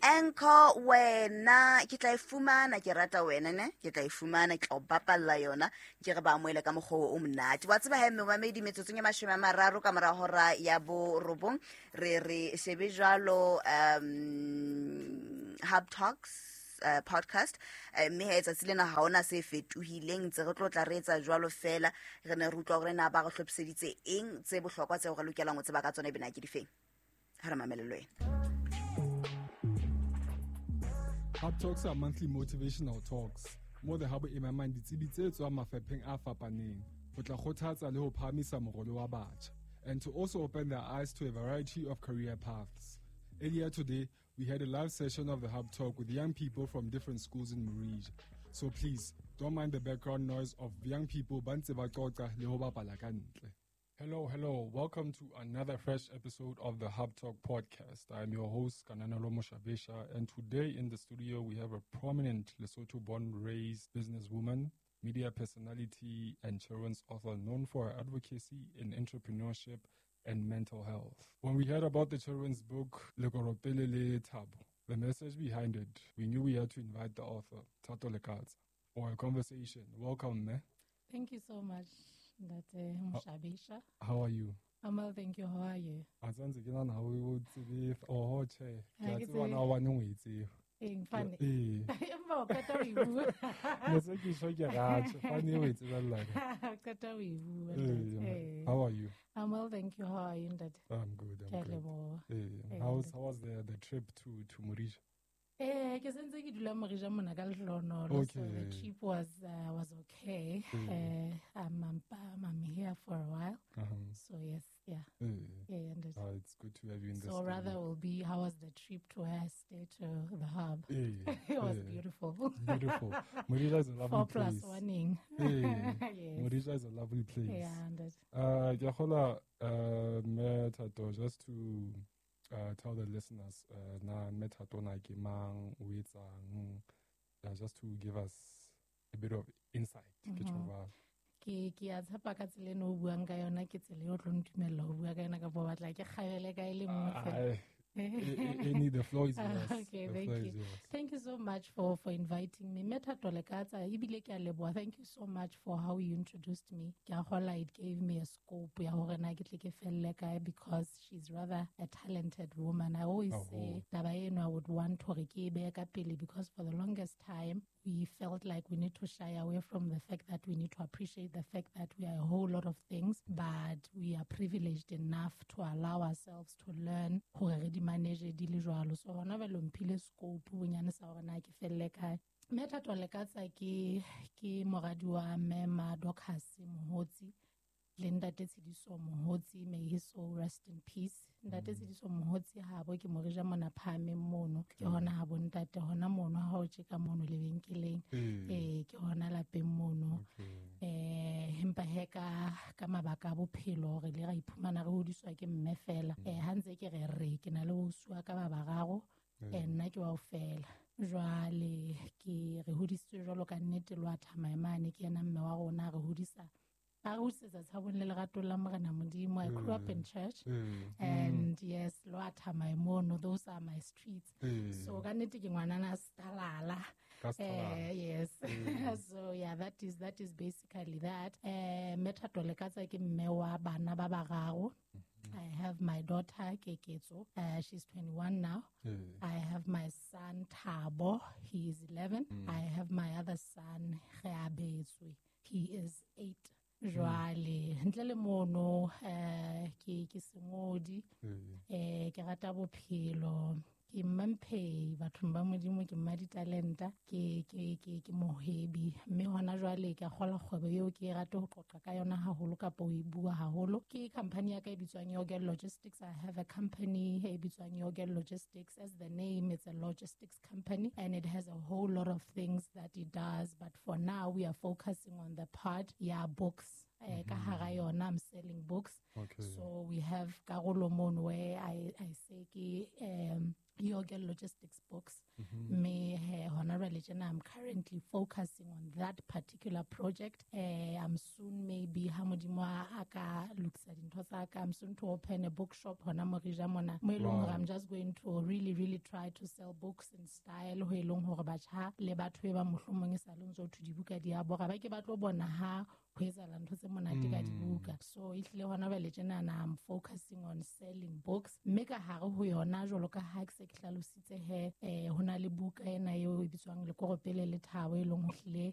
Anchor wena ke tla e fumana, ke rata wena ne, ke tla e fumana, ke tla o bapalla yona, ke re ba amohele ka mokgwa o monate. Wa tseba he momamedi, metsotsong e 30 ka mora hora ya 9 re re shebe jwalo Hub Talks podcast, mme ha etsatsi lena ha ona se fetohileng, ntse re tlo tla re etsa jwalo fela. Re ne re utlwa hore na ba re hlophiseditse eng tse bohlokwa tseo re lokelang ho tseba ka tsona, ebena ke difeng. Ha re mamele le wena. Hub Talks are monthly motivational talks mo the Hub e memang ditsebi tse tswang mafapheng a fapaneng ho tla kgothatsa le ho phahamisa morolo wa batjha, and to also open their eyes to a variety of career paths. Earlier today, we had a live session of the Hub Talk with young people from different schools in Morija. So please, don't mind the background noise of young people ba ntse ba qoqa le ho bapala ka ntle. Hello, hello. Welcome to another fresh episode of the Hub Talk podcast. I'm your host, Kananelo Moshabesha, and today in the studio we have a prominent Lesotho-born raised businesswoman, media personality, and children's author known for her advocacy in entrepreneurship and mental health. When we heard about the children's book, Lekoropele le Thabo, the message behind it, we knew we had to invite the author, Thato Lekatsa, for a conversation. Welcome, me. Thank you so much, Ntate Moshabesha. How are you? I'm well, thank you. How are you? Asante ke nana o tsebe oho che. Ha, Ke a ke tseba tsebe. na wa nngwe e tsebe. Eng, fane. Ee. Empa o qeta ho e bua. Ne se ke tjho ke ratjho, fane o e tsebella ka. O qeta ho e bua, Ee, Ntate. ma. Ee. How are you? I'm well, thank you. How are you, Ntate? I'm good, I'm Ke a good. leboha. Ee. Ee, How Ntate. was the trip to Morija? Ke sentse ke dula Morija mona ka lehlohonolo, so the Okay. trip was okay. Ee. I'm here for a while. Uh-huh. So yes, yeah. Ee. Yeah, and it It's good to have you in the So studio. rather will be, how was the trip to where I stayed to the hub? Ee, It was ee. beautiful. Beautiful. Morija is a lovely 4 plus place. 1ing. Ee. Yes. Morija is a lovely place. Yeah, and it Ke a kgolwa, Mme Thato, just to tell the listeners, na Mme Thato na ke mang, o etsang, just to give us a bit of insight. Ke tjho jwalo. Ke a tshepa ka tsela eno o buang ka yona, ke tsela eo o tlo ntumella ho bua ka yona, kapa o batla ke kgabele ka e le nngwe fela? Any, the floor is yours. Okay, The thank floor you. is yours. Thank you so much for inviting me. Mme Thato Lekatsa, ebile ke a leboha. Thank you so much for how you introduced me. Ke a kgolwa it gave me a scope ya hore na ke tle ke felle kae, because she's rather a talented woman. I always Oh. say taba eno I would want hore ke e behe ka pele, because for the longest time we felt like we need to shy away from the fact that we need to appreciate the fact that we are a whole lot of things, but we are privileged enough to allow ourselves to learn hore re di manage di le jwalo. So hona jwale o mphile scope bonyane sa hore na ke felle kae. Mme Thato Lekatsa ke moradi wa Mme Madocus Mohotsi le Ntate Tshidiso Mohotsi, may his soul rest in peace. Ntate Tshidiso Mohotsi habo ke Morija mona phahameng mono, ke hona ha bo ntate hona mono ha o tjeka mono lebenkeleng. Ee. Ke hona lapeng mono. Okay. Empa he ka mabaka a bophelo re ile ra iphumana re hodiswa ke mme fela. Ha ntse ke re re ke na le ausi wa ka ba bararo, nna ke wa ho fela. Jwale ke re hodisitswe jwalo ka nnete le wa Thamaemane, ke yena mme wa rona, re hodisa. A re hodisetsa tshabong le leratong la Morena Modimo. I grew up in church. And yes, Loa Thamaemono, those are my streets. So ka nnete ke ngwanana Stalala. Ka Stalala. Yes. So yeah, that is basically that. Mme Thato Lekatsa ke mme wa bana ba bararo. I have my daughter Keketso. She's 21 now. I have my son Thabo. He is 11. I have my other son Reabetswe. He is 8. Jwale ntle le mono, ke sengodi. Ke rata bophelo, ke mmamphei bathong ba Modimo, ke mma ditalenta, ke mohwebi, mme hona jwale ke a kgola kgwebo eo ke e rate ho qoqa ka yona haholo kapa ho e bua haholo. Ke company ya ka e bitswang Yogel Logistics. I have a company e bitswang Yogel Logistics. As the name, it's a logistics company and it has a whole lot of things that it does, but for now we are focusing on the part ya books. Ka hara yona, I'm selling books. Okay. So we have karolo mono where I say ke Yorgel Logistics Books. Mme he hona jwale tjena I'm currently focusing on that particular project. I'm soon, maybe ha Modimo a ka lokisa dintho tsa ka, I'm soon to open a bookshop hona Morija mona, mo e leng hore I'm just going to really really try to sell books in style, ho e leng hore batjha le batho e ba mohlomong e sa le ntso thwe dibuka di a bora, ba ke ba tlo bona ha ho etsahala ntho tse monate ka dibuka. So ehlile hona jwale tjenana I'm focusing on selling books, mme ka hare ho yona, jwalo ka ha ke se ke hlalositse he, ho na le buka ena eo e bitswang Lekoropele le Thabo, e leng ho hlile